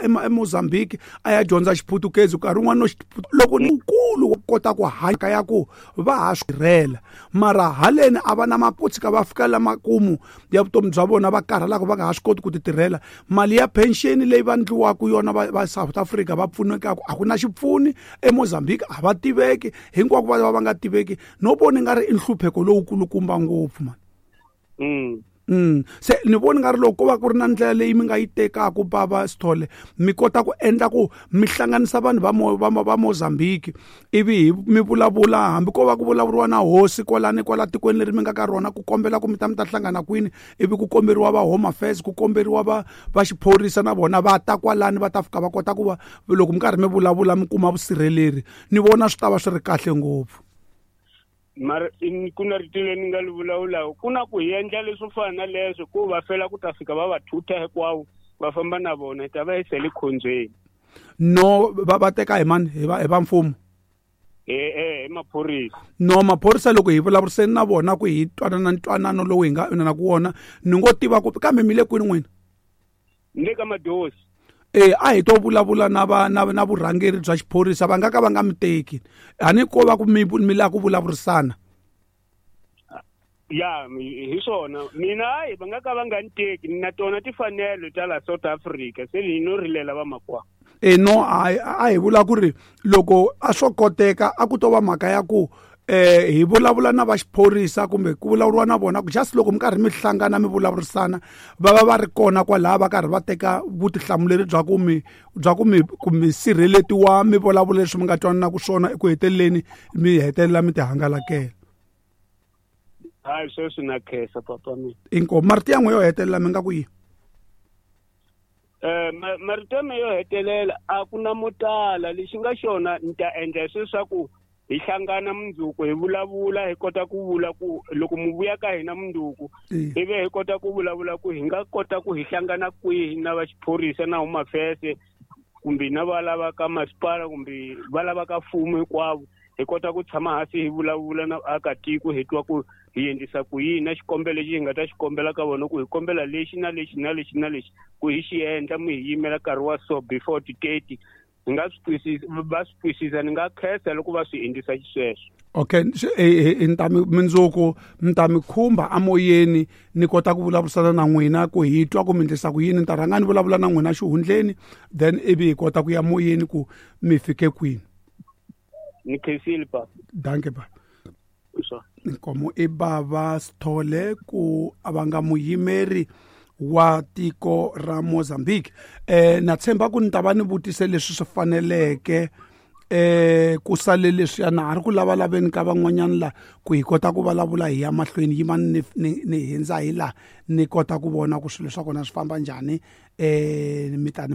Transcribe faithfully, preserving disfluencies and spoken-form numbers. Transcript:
eMozambique a ya dyondza Xiputukezi nkarhi wun'wana no loko nkulu wo kota ku hanya ya ku va ha swi tirhela mara haleni a va na maputshika va fika la makumu ya vutomi bya vona va karhalaka va nga ha swi koti ku ti tirhela mali ya pension leyi va ndliwaka yona va, va South Africa va pfunekaka a ku na xipfuni eMozambique a va tiveki hinkwako va va nga tiveki no vona nga ri i nhlupheko lowukulukumba ngopfu man. Mm. Mm. Se ni voni nga ri loko ko va ku ri na ndlela leyi mi nga yi tekaka bava Sithole mi kota ku endla ku mi hlanganisa vanhu va Mo, va, va Mozambique ivi mi vulavula hambi ko va ku vulavuriwa na hosi kwalani kwala tikweni leri mi nga ka rona ku kombela ku mi ta mi ta hlangana kwini ivi ku komberiwa va Home Affairs ku komberiwa va va xiphorisa na vona va ta kwalani va ta fika va kota ku va loko mi karhi mi vulavula mi kuma vusirheleri ni vona swi ta va swi ri kahle ngopfu. Mara ku na rito leri ni nga li vulavulaka ku na ku hi endla leswo fana na leswo ku va fela ku ta fika va va thutha hinkwavo va famba na vona hi ta va hi sele khondzweni. No va va teka hi mani hi va hi va mfumo eh eh hi maphorisa. No maphorisa loko hi vulavuriseni na vona ku hi twanana ntwanano lowu hi nga na ku wona ni ngo tiva ku kambe mi le kwini n'wina? Ni le ka Madosi. Eh a hi to vulavula na va na na vurhangeri bya xiphorisa va nga ka va nga mi teki a ni ko va ku mi mi lava ku vulavurisana. Ya hi swona mina hayi va nga ka va nga ni teki na tona timfanelo ta la South Africa se ni no rilela va makwa. Eh no a a hi vula ku ri loko a swo koteka a ku to va mhaka ya ku eh hi vulavula na va xiphorisa kumbe ku vulavuriwa na vona ku just loko mi karhi mi hlangana mi vulavurisana va va va ri kona kwalaha va karhi va teka vutihlamuleri bya ku mi bya ku mi ku mi sirheletiwa mi vulavula leswi mi nga twanana ku swona eku heteleleni mi hetelela mi ti hangalakela. Hayi sweswi na khensa papa mina. Inkomu marito ya n'we yo hetelela mi nga ku yini? Eh marito ya me yo hetelela a ku na mo tala lexi nga xona ni ta endla leswaku hi hlangana mundzuku hi vulavula hi kota ku vula ku loko mu vuya ka hina mundzuku ivi hi kota ku vulavula ku hi nga kota ku hi hlangana kwihi na va xiphorisa na Home Affairs kumbe na va lava ka masipala kumbe va lava ka mfumo hinkwavo hi kota ku tshama hansi hi vulavula na vaakatiko hi twa ku hi endlisa ku yini na xikombelo lexi hi nga ta xi kombela ka vona ku hi kombela lexi na lexi na lexi na lexi ku hi xi endla mi hi yimela nkarhi wa so before ti-thirty hi nga swi twisisa va swi twisisa ni nga khensa loko va swi endlisa xisweswo. Okay ni ta mi mindzuku ni ta mi khumba amoyeni ni kota ku vulavurisana na n'wina ku hi twa ku mi endlisa ku yini ni ta rhanga ni vulavula na n'wina xihundleni then ivi hi kota ku ya moyeni ku mi fike kwini. Ni khensile papa. Danke ba. Nkomo i bava Sithole ku a va nga muyimeri wa tiko ra Mozambique. Eh na tshemba ku ni ta va ni vutise leswi swi faneleke eh ku sale leswiya na ha ri ku lavalaveni ka van'wanyana la ku hi kota ku vulavula hi ya mahlweni yima ni ni hindza hi la ni kota ku vona ku swilo swa kona swi famba njhani eh mi ta ni